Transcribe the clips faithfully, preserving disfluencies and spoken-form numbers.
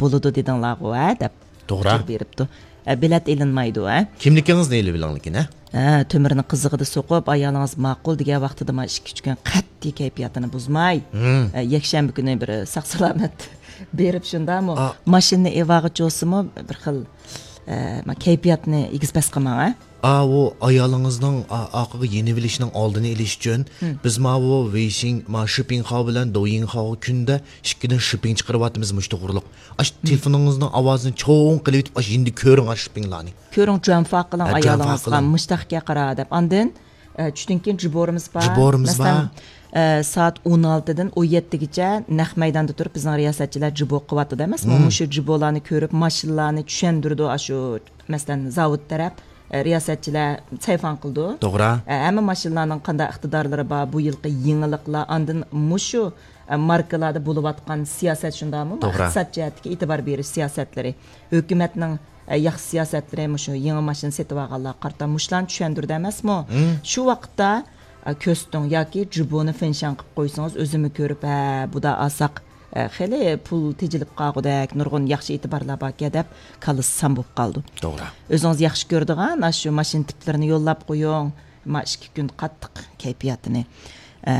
بولىدۇ دېدىڭلارغۇ، ھە؟ دەپ توغرا. ئۇچۇر بېرىپتۇ. ئە، بېلەت ئېلىنمايدۇ، ھە؟ كىملىكىڭىزنى ئېلىۋېلىڭ لېكىن، ھە؟ ھە، تۆمۈرنى قىزىقىدا سوقۇپ، ئايالىڭىز ماقۇل دېگەن ۋاقتىدا ما ئىككى، ئۈچ كۈن قەتئىي كەيپىياتىنى بۇزماي، ھە، يەكشەنبە كۈنى بىر ساق-سالامەت بېرىپ شۇنداقمۇ؟ ئا. ماشىنىنى ئېلىۋالغۇچى بولسىمۇ بىر خىل، ئە، ما كەيپىياتنى ئېگىز-پەس قىلماڭ، ھە؟ ئاۋۇ ئايالىڭىزنىڭ ئا-، ئارقىغا يېنىۋېلىشنىڭ ئالدىنى ئېلىش ئۈچۈن، بىز ماۋۇ ۋېيشىڭ، ما شىپىڭخاۋ بىلەن دويىڭخاۋغا كۈندە ئىككىدىن شىپىڭ چىقىرىۋاتىمىز مۇشۇ توغرۇلۇق. ئاش تېلېفونىڭىزنىڭ ئاۋازىنى چوڭ قىلىۋېتىپ، ئاش يېنىدا كۆرۈڭ ئاش شىپىڭلارنى. كۆرۈڭ، جۇەنفا قىلىڭ ھە، جۇەنفا ئايالىڭىزغا، قىلىڭ. مۇشتاقكە قارا دەپ. ئاندىن، ئە، چۈشتىن كېيىن جىبورىمىز بار. جىبورىمىز مەسىلەن، بار. ئە، سائەت ئون ئالتىدىن ئون يەتتىگىچە نەق مەيداندا تۇرۇپ بىزنىڭ رىياسەتچىلەر جىبو قىلىۋاتىدۇ ئەمەسمۇ؟ مۇشۇ جىبولارنى كۆرۈپ، ماشىنىلارنى چۈشەندۈرىدۇ، ئاشۇ، مەسىلەن، زاۋۇت تەرەپ، ئە، رىياسەتچىلەر سەيفان قىلىدۇ. توغرا. ئە، ھەممە ماشىنىلارنىڭ قانداق ئىقتىدارلىرى بار، بۇ يىلقى يېڭىلىقلار، ئاندىن مۇشۇ، ئە، ماركىلاردا بولۇۋاتقان سىياسەت شۇنداقمۇ؟ توغرا. ئىقتىساد جەھەتتىكى ئېتىبار بېرىش سىياسەتلىرى، ھۆكۈمەتنىڭ، ئە، ياخشى سىياسەتلىرى، مۇشۇ يېڭى ماشىنا سېتىۋالغانلارغا قارىتا مۇشۇلارنى چۈشەندۈردى ئەمەسمۇ؟ شۇ ۋاقىتتا، ئە، كۆرسىتىڭ ياكى جىبونى فېنشان قىلىپ قويسىڭىز، ئۆزۈممۇ كۆرۈپ، ھە، بۇدا ئالساق، ئە، خېلى پۇل تېجىلىپ قالغۇدەك نۇرغۇن ياخشى ئېتىبارلار باركەن دەپ كاللىسى سان بولۇپ قالىدۇ. توغرا. ئۆزىڭىز ياخشى كۆرىدىغان ئاشۇ ماشىنا تىپلىرىنى يوللاپ قويۇڭ. ما ئىككى كۈن قاتتىق كەيپىياتىنى، ئە،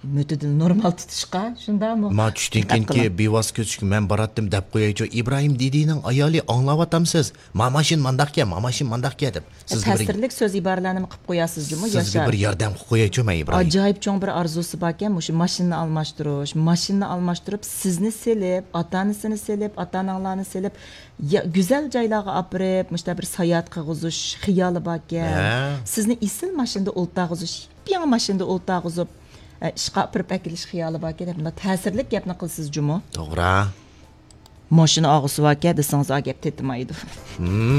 مۆتىدىل نورمال تۇتۇشقا، شۇنداقمۇ؟ ما چۈشتىن دىققەت كېيىنكى قىلىڭ. بىۋاسىتە كۆزىتىشكە مەن باراتتىم دەپ قويايچۇ، ئىبراھىم دىدىنىڭ ئايالى ئاڭلاۋاتامسىز؟ ما ماشىنا مانداقكەن، ما ماشىنا مانداقكەن دەپ. سىزگە بىر تەسىرلىك سۆز ئىبارىلەرنىمۇ قىلىپ قوياسىزجۇمۇ، سىزگە ياشار؟ بىر ياردەم قىلىپ قويايچۇ مەن، ئىبراھىم. ئاجايىپ چوڭ بىر ئارزۇسى باركەن، مۇشۇ ماشىنىنى ئالماشتۇرۇش، ماشىنىنى ئالماشتۇرۇپ، سىزنى سېلىپ، ئاتا-ئانىسىنى سېلىپ، ئاتا-ئاناڭلارنى سېلىپ، يا-، گۈزەل جايلارغا ئاپىرىپ، مۇشۇنداق بىر ساياھەت قىلغۇزۇش خىيالى باركەن. ھە. سىزنى ئېسىل ماشىنىدا ئولتۇرغۇزۇش، يېڭى ماشىنىدا ئولتۇرغۇزۇپ، ئە، ئىشقا ئاپىرىپ ئەكېلىش خىيالى باركەن دەپ، مۇنداق تەسىرلىك گەپنى قىلىسىز جۇمۇ. توغرا. ماشىنا ئالغۇسى باركەن دېسىڭىز، ئا گەپ تېتىمايدۇ.